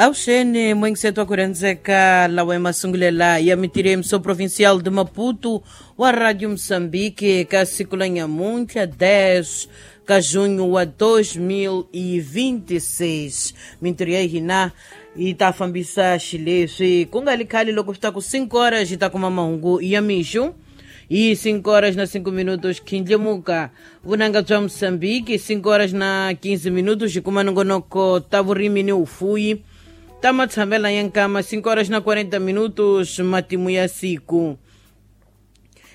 Avuxeni mwingiseto wa ku rhendzeka lawa emasungulela ya mitirho yemiso provincial de Maputo wa Radio Moçambique ka siku la nyamuntlha 10 ka junho wa 2026. Mintirho ya hina yi ta fambisa xileswi ku nga li khale loko swi ta ku 5 horas yi ta kuma mahungu ya mixo hi 5 horas na 5 minutos khindlimuka vunanga bya Moçambique 5 horas na 15 minutos hi kuma nongonoko ta vurimi ni vufuyi ta matshamela ya nkama 5 horas na 40 minutos matimu ya siku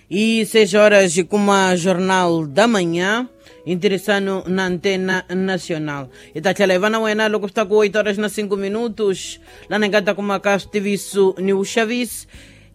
e 6 horas hi kuma Jornal da Manhã interessano na Antena Nacional. Hi ta tlhela hi va na wena loko swi ta ku 8 horas na 5 minutos lana hi nga ta kuma ka switiviso ni vuxavisi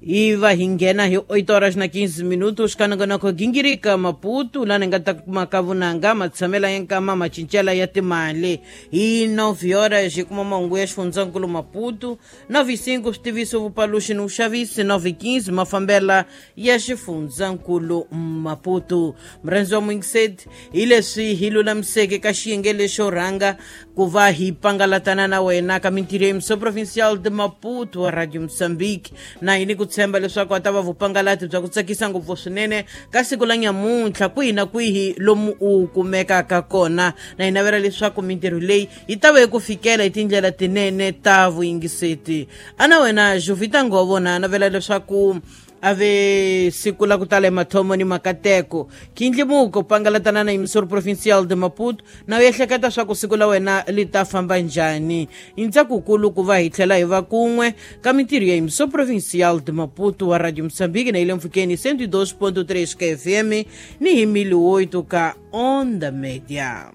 hi va hi nghena hi 8 horas na 15 minutos ka nongonoko gingirika Maputo lana hi nga ta kuma ka vunanga matshamela ya nkama macincela ya timali hi 9 horas hi kuma mahungu ya xifundzankulu Maputo 9:05 switiviso vupaluxi ni vuxavisi 9:15 mafambela ya xifundzankulu Maputo. Murhandzi wa muyingiseti hi leswi hi lulamiseke ka xiyenge lexo rhanga ku va hi pangalatana na wena ka mintirho ya Emissão Provincial de Maputo wa Radio Moçambique na hini ku tshemba leswaku a ta va vupangalati bya ku tsakisa ngopfu swinene ka siku la nyamuntlha kwihi na kwihi lomu u kumekaka kona na hi navela leswaku mintirho leyi yi ta va yi ku fikela hi tindlela tinene ta vuyingiseti ana wena Jovita Ngovo na navela leswaku a ve siku la ku tala emathomo ni makateko khindlimuko pangalatana na Emissora Provincial de Maputo na u ehleketa swa ku siku la wena li ta famba njhani i ntsakukulu ku va hi tlhela hi va kun'we ka mintirho ya Emissora Provincial de Maputo wa Radio Moçambique na yi le mpfhukeni 102.3 ka FM ni hi 1008 ka Onda Media.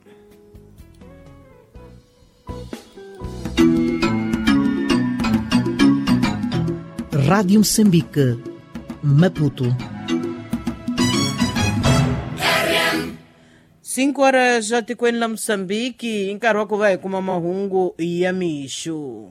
Rádio Moçambique, Maputo. 5 horas já tikweni la Moçambique i nkarhi wa ku va hi kuma mahungu ya mixo.